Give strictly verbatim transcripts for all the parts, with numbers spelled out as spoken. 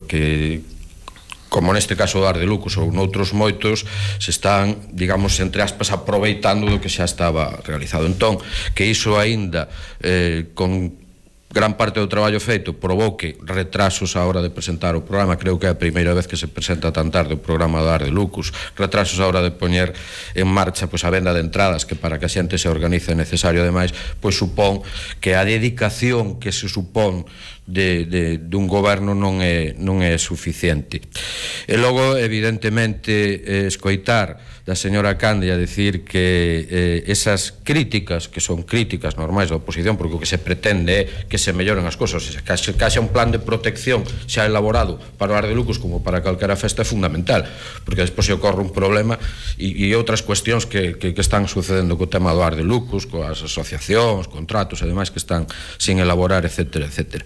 porque como neste caso do Ar de Lucos ou noutros moitos, se están, digamos, entre aspas, aproveitando do que xa estaba realizado. Entón, que iso aínda eh, con gran parte do traballo feito provoque retrasos á hora de presentar o programa, creo que é a primeira vez que se presenta tan tarde o programa do Ar de Lucos, retrasos á hora de poñer en marcha pois, a venda de entradas, que para que a xente se organice é necesario, ademais, pois supón que a dedicación que se supón de, de, dun goberno non é, non é suficiente. E logo, evidentemente, eh, escoitar da señora Candia decir que eh, esas críticas, que son críticas normais da oposición, porque o que se pretende é que se melloren as cosas, que haxa un plan de protección xa elaborado para o Ar de Lucos como para calquera festa é fundamental, porque despois se ocorre un problema e, e outras cuestións que, que, que están sucedendo co tema do Ar de Lucos, coas asociacións, contratos e demais que están sin elaborar, etcétera, etcétera.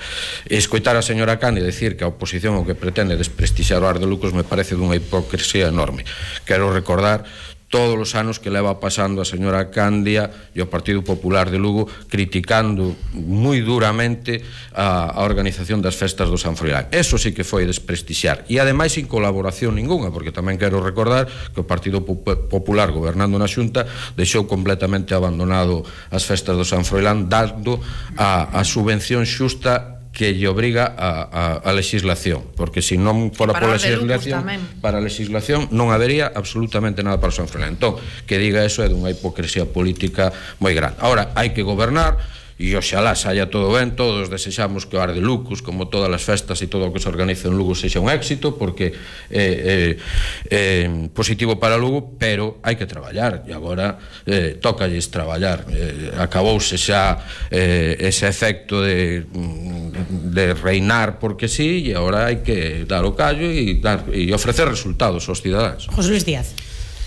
E escoitar a señora Candia decir que a oposición o que pretende desprestixiar o Ar de Lucos me parece dunha hipocresía enorme. Quero recordar todos os anos que leva pasando a señora Candia e o Partido Popular de Lugo criticando moi duramente a, a organización das festas do San Froilán. Eso sí que foi desprestixiar, e ademais sin colaboración ninguna, porque tamén quero recordar que o Partido Popular gobernando na Xunta deixou completamente abandonado as festas do San Froilán, dando a, a subvención xusta que lle obriga a, a, a legislación, porque se non fora por legislación, para a legislación non habería absolutamente nada para o San Froilán. Entón, que diga eso é dunha hipocresía política moi grande. Ahora, hai que gobernar, e oxalá saia todo ben, todos desexamos que o Ar de Lucos, como todas as festas e todo o que se organiza en Lugo, sexa un éxito, porque é, é, é positivo para Lugo, pero hai que traballar, e agora eh, tócalles traballar. Eh, acabouse xa eh, ese efecto de, de reinar porque sí, e agora hai que dar o callo e, dar, e ofrecer resultados aos cidadáns. José Luis Díaz.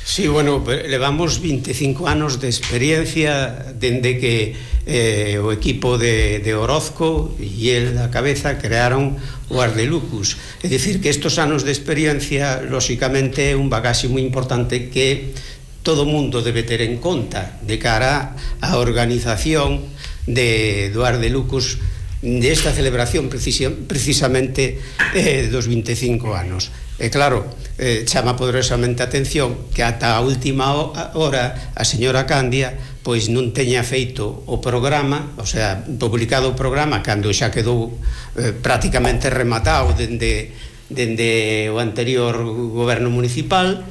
Sí, bueno, levamos veinticinco anos de experiencia dende que eh, o equipo de, de Orozco e el a cabeza crearon o Ar de Lucos. É dicir, que estos anos de experiencia, lóxicamente, é un bagaxe moi importante que todo mundo debe ter en conta de cara á organización de, do Ar de Lucos, desta celebración precisa, precisamente eh, dos veinticinco anos. E claro, eh, chama poderosamente a atención que ata a última hora a señora Candia pois non teña feito o programa, o sea, publicado o programa cando xa quedou eh, prácticamente rematado dende, dende o anterior goberno municipal.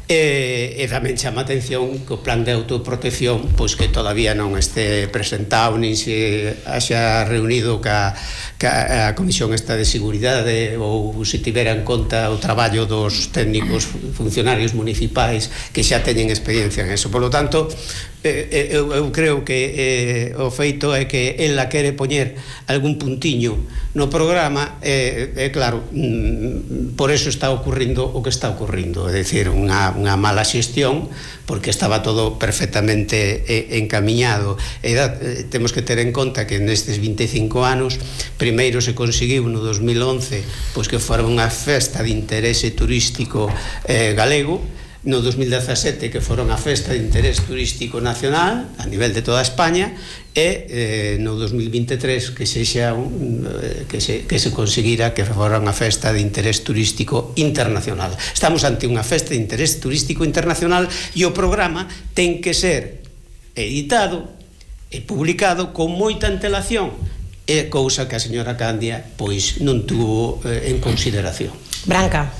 E, e tamén chama a atención que o plan de autoprotección pois que todavía non este presentado nin se haxa reunido ca, ca a Comisión esta de Seguridade ou se tivera en conta o traballo dos técnicos funcionarios municipais que xa teñen experiencia en eso. Por lo tanto, eh, eu, eu creo que eh, o feito é que ela quere poñer algún puntiño no programa e, eh, eh, claro, mm, por eso está ocurrindo o que está ocurrindo, é dicir, unha unha mala xestión, porque estaba todo perfectamente eh, encamiñado. E da, eh, temos que ter en conta que nestes veinticinco anos primeiro se conseguiu no dos mil once pois que fora unha festa de interese turístico eh, galego, no dos mil dezasete que fora unha festa de interés turístico nacional a nivel de toda España, e eh, no dos mil veintitrés que sexa un, eh, que, se, que se conseguira que fora unha festa de interés turístico internacional. Estamos ante unha festa de interés turístico internacional e o programa ten que ser editado e publicado con moita antelación, é cousa que a señora Candia pois non tuvo eh, en consideración. Branca.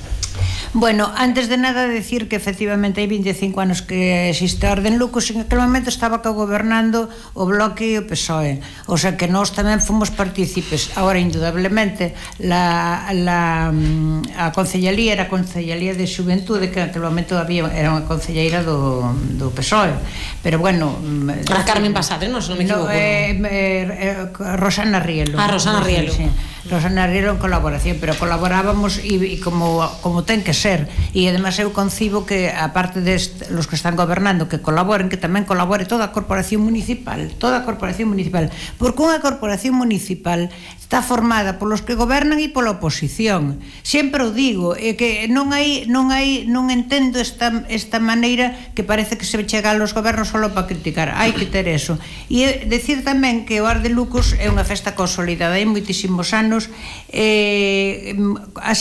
Bueno, antes de nada decir que efectivamente hai veinticinco anos que existe a Orden Lucos, en aquel momento estaba gobernando o Bloque e o P S O E, o sea que nós tamén fomos partícipes. Agora, indudablemente, la, la, a Concellería era a Concellería de Xuventude, que en aquel momento había, era unha concelleira do, do P S O E, pero bueno... A Carmen Pasade, non, se non me equivoco. No, eh, eh, Rosana Rielo. Ah, Rosana Rielo. Sí, Rosana Rielo en colaboración, pero colaborábamos e, e como, como ten que ser, e además eu concibo que aparte de los que están gobernando que colaboren, que tamén colabore toda a corporación municipal, toda a corporación municipal, porque unha corporación municipal está formada polos que gobernan e pola oposición. Sempre o digo, é que non hai non hai non entendo esta esta maneira que parece que se chega aos gobernos só para criticar. Hai que ter eso. E decir tamén que o Ar de Lucos é unha festa consolidada, hai moitísimos anos, eh, a